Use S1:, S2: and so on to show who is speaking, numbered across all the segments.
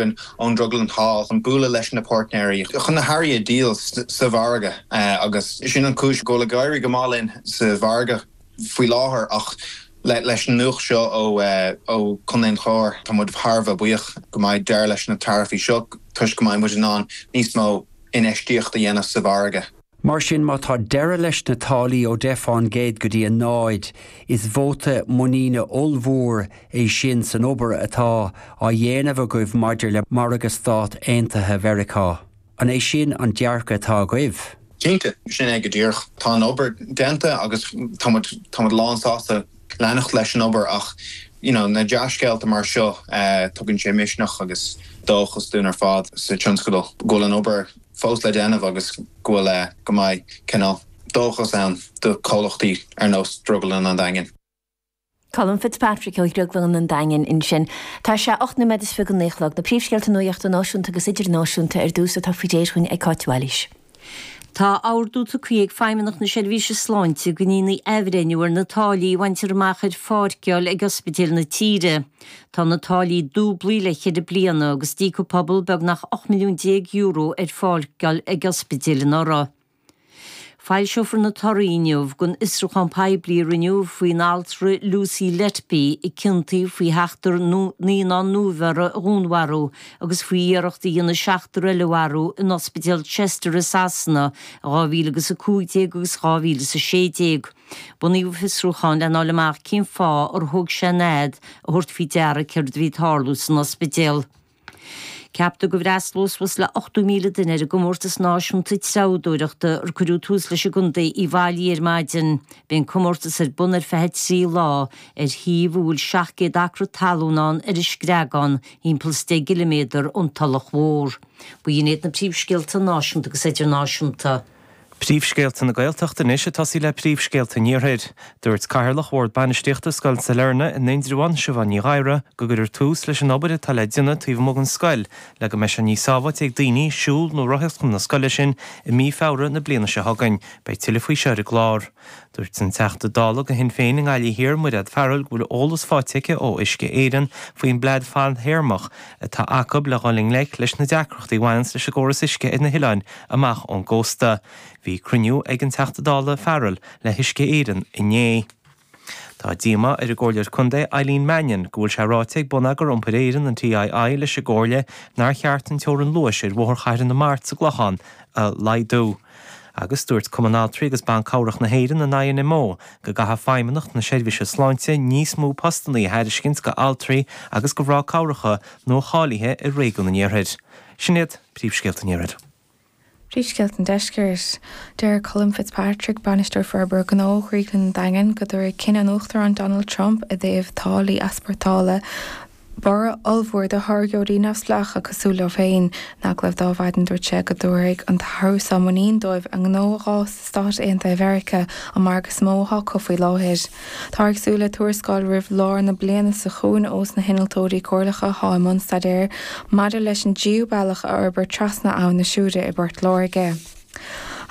S1: againn ón Drioglann Thall chun bualadh leis na páirtnéirí chun na hearraí a dhíol sa mhargadh agus sin an chúis go bhfuil ag éirí go maith linn sa mhargadh faoi láthair ach leis an nuacht seo ó Chontae an Chláir tá muid thar a bheith buíoch go mbeidh deireadh leis na taraifí seo toisc go mbeidh muid in ann níos mó infheistíocht a dhéanamh sa mhargadh.
S2: Mar sin, má tá deireadh leis na táillí ó 10 fán gcéad go dtí 0, is vóta muiníne ollmhór é sin san obair atá á dhéanamh agaibh maidir le margadh Stát Aontaithe Mheiriceá. An é sin an dearcadh atá agaibh?
S1: Cinnte, sin é go díreach. Tá an obair déanta agus tá muid, tá muid lánsásta leanacht leis an obair ach you know na dea-scéalta mar seo, tugann sé misneach agus dóchas dúinn ar fad sa tionscadal go bhfuil an obair fós le déanamh agus go bhfuil, go mbeidh cineál dóchas ann do chomhlachtaí ar nós Drioglann an Daingin.
S3: Colm Fitzpatrick ó Dhrioglann an Daingin ansin. Tá sé 8 nóiméad is 29 a chlog. Na príomhscéalta nuachta náisiúnta agus idirnáisiúnta ar dtús atá faoi réir dhúinn ag Cáit Bhailís.
S4: Tá ordú tugtha ag Feidhmeannacht na Seirbhíse Sláinte go ndéanfaí athbhreithniú ar na táillí a bhaintear amach ar pháirceáil ag ospidéil na tíre. Tá na táillí dúblaithe le ceithre bliana agus d'íoc an pobal beagnach €18 milliún ar pháirceáil ag ospidéil anuraidh. Foilseofar na torthaí inniu den fhiosrúchán poiblí a rinneadh faoin altra Lucy Letby a ciontaíodh faoi sheachtar naíonán nuabheirthe a dhúnmharú agus faoi iarracht a dhéanamh seachtar eile a mharú in ospidéal Chester i Sasana i 2015 agus 2016. Bunaíodh an fiosrúchán lena fháil amach cén fáth ar thóg sé an fhad a thabhairt faoi deara céard a bhí ag tarlú san ospidéal. Ceaptar go bhfreastalóidh suas le 80,000 duine ar an gcomórtas náisiúnta treabhdóireachta ar cuireadh tús leis i gContae Uíbh Fhailí ar maidin. Beidh an comórtas ar bun ar feadh 3 lá ar shuíomh a bhfuil 700 acra talún ann ar an Screagán, thimpeall is 10 gciliméadar ón Tulach Mhór. B'in iad na príomhscéalta náisiúnta agus idirnáisiúnta.
S5: Príomhscéalta na Gaeltachta anois ag tosaí le príomhscéalta an Iarthair. Dúirt Cathaoirleach Bhord Bainistíochta Scoil Sailearna in Indreabhán, Siobhán Ní Ghadhra, go gcuirfear tús leis an obair atá le déanamh taobh amuigh den scoil le go mbeidh sé níos sábháilte ag daoine siúl nó rothaíocht chun na scoile sin i mí Feabhra na bliana seo chugainn. Beidh tuilleadh faoi seo ar an gclár. Dúirt an Teachta Dála do Shinn Féin i nGaillimh Thiar, Mairéad Farrell, go bhfuil eolas faighte aici ó Uisce Éireann faoin bplean fadthéarmach atá acu le dhul i ngleic leis na deacrachtaí a bhaineanns leis an gcóras uisce ar na hoileáin amach ón gcósta. Bhí cruinniú ag an Teachta Dála Farrell le hUisce Éireann inné. Tá díomá ar an gComhairleoir Contae Eileen Mannion go bhfuil sé ráite ag Bonneagar Iompair Éireann, an TII, leis an gComhairle nár cheart an teorainn luais ar Bhóthar Chathair na Mart sa gClochán a laghdú. Agus dúirt Cumann Altraí agus Ban Cabhrach na hÉireann, an INMO, go gcaithfidh Feidhmeannacht na Seirbhíse Sláinte níos mó postanna a thairiscint go altraí agus go mhná cabhracha nua-cháilithe i réigiún an Iarthair. Sin iad príomhscéalta an Iarthair.
S6: Príomhscéalta an Deiscirt. Deir Colm Fitzpatrick, Bainisteoir Forbartha Gnó Dhrioglann an Daingin, go dtabharfaidh cinneadh an Uachtaráin Donald Trump i dtaobh táillí easpórtála borradh ollmhór do tháirgeoirí neamhspleácha cosúil leo féin. In agallamh dó ar maidin dúirt sé go dtabharfaidh an t-athrú seo muinín dóibh a ngnó a dh'fhás sna Stáit Aontaithe Mheiriceá, an margadh is mó atá acu faoi láthair. Táthar ag súil le tuarascáil roimh lár na bliana seo chugainn ós na hinnealtóirí comhairleacha atá i mbun staidéir maidir leis an dtríú bealach a fhorbairt trasna Abhainn na Siúire i bPort Láirge.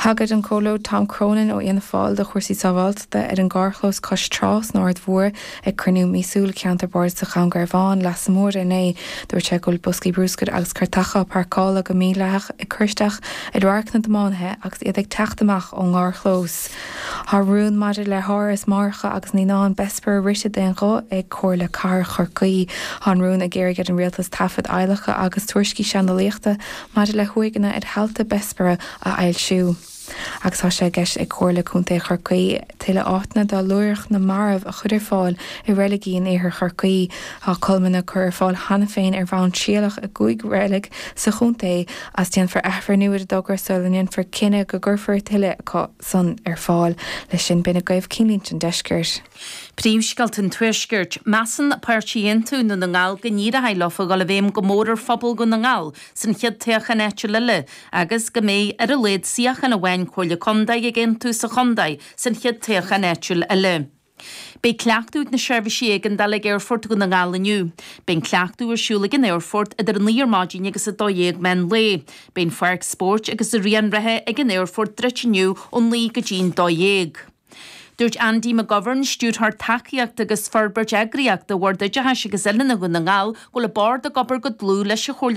S6: Thagair an Comhairleoir Tom Cronin ó Fhianna Fáil do chúrsaí sábháilteachta ar an gcarrchlós cois trá san Aird Mhór ag cruinniú míosúil Cheantar Bardasach Dhún Garbhán, Leasa Mór inné. Dúirt sé go bhfuil boscaí brúscair agus cairteacha á bpáirceáil go mídhleathach ag cur isteach ar radharc na dtiománaithe agus iad ag teacht amach ón gcarrchlós. Tá rún maidir le háras máithreacha agus naíonán Bessborough rite d'aon ghuth ag Comhairle Cathrach Chorcaí. Tá an rún ag iarraidh ar an Rialtas taifid adhlactha agus tuairiscí seandálaíochta maidir le huaigheanna ar thailte Bessborough a fhoilsiú. Agus tá sé i gceist ag Comhairle Contae Chorcaí tuilleadh áiteanna do luaithreach na marbh a chur ar fáil i reiligí in iarthar Chorcaí. Tá colmlanna curtha ar fáil cheana féin ar bhonn trialach i gcúig reilig sa chontae agus déanfar athbhreithniú ar an dtogra sula ndéanfar cinneadh go gcuirfear tuilleadh acu san ar fáil. Leis sin, b'in agaibh Cinnlínte an Deiscirt.
S7: Príomhscéalta an Tuaiscirt. Measann Páirtí Aontú Dhún na nGall go n-éireoidh leo a dhul i bhfeidhm go mór ar phobal Dhún na nGall san chéad toghchán áitiúil eile agus go mbeidh ar a laghad suíochán amháin Comhairle Contae ag Aontú sa chontae san chéad toghchán áitiúil eile. Beidh cleachtadh ag na seirbhísí éigeandála ag Aerfort Dhún na nGall inniu. Beidh an cleachtadh ar siúl ag an aerfort idir 9 ar maidin agus 12 meán lae. Beidh an pháirc spóirt agus an raon reatha ag an aerfort druidte inniu ó 9 go dtí'n 12. Dúirt Andy McGovern, Stiúrthóir Tacaíochta agus Forbairt Eagraíochta Bhord Oideachais agus Oiliúna Dhún na nGall, go bhfuil an Bord ag obair go dlúth leis an Chomhairle.